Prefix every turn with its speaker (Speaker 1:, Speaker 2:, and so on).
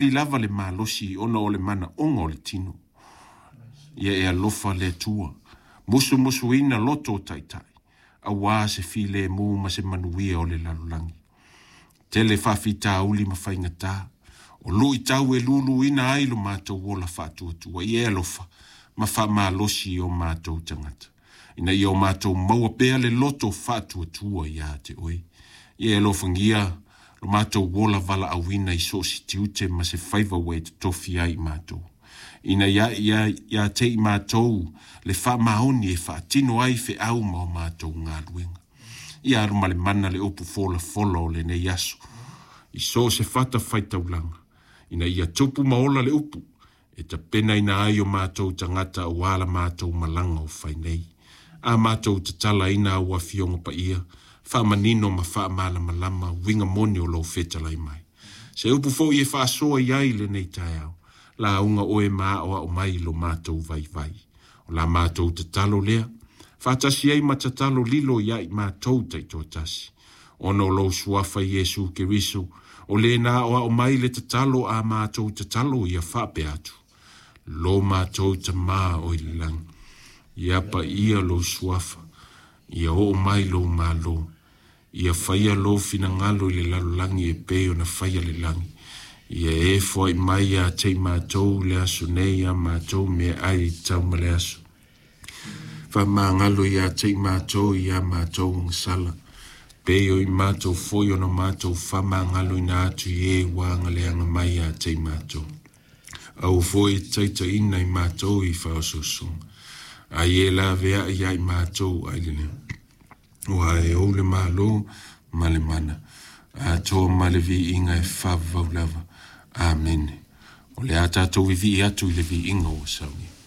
Speaker 1: Lava le malosi ona o le manaoga o le tino. Ia e alofa le Atua, musumusuina loto o taitai, auā se filemu ma se manuia o le lalolagi. Tele faafitauli ma faigata, o luitau e luluina ai lo matou ola faatuatua. Ia e alofa ma faamalosi i o matou tagata, ina ia o matou maua pea le loto faatuatua ia te oe. Ia e alofagia lo matou ola valaauina i so o se tiute ma se faiva ua e totofi ai i matou, ina ia te i matou le faamaoni e faatino ai feau ma o matou galuega. Ia alu ma le mana le upu folafola o lenei aso i so o se fatafaitaulaga, ina ia tupu ma ola le upu e tapenaina ai o matou tagata auā la matou malaga o fai nei. A matou tatalaina au afioga paia, faamanino ma faamalamalama uiga moni o lou fetalai mai. Se upu foi e faasoa i ai lenei taeao, lauga oe ma aoao mai lo matou vaivai. O la matou tatalo lea, faatasi ai ma tatalo lilo ia i matou taitoatasi, ona o lou suafa Iesu Keriso, o le na aoao mai le tatalo a matou tatalo ia faapea atu: Lo matou Tamā o i le lagi, ia paia lou suafa, ia oo mai lou malo, ia faia lou finagalo i le lalolagi e pei ona faia le lagi. Ia e foai mai ia te i matou le aso nei a matou meaai e tatau ma le aso. Faamagalo ia te i matou ia matou agasala, pei o i matou foi ona matou faamagaloina atu i e ua agaleaga mai ia te i matou. Aua foi e taitaiina i matou i faaosoosoga, ai e laveai ia i matou ai le leo. Aua e ou le malo ma le mana, atoa ma le viiga e faavavau lava. Amene. O le a tatou vivii atu i le viiga ua saunia.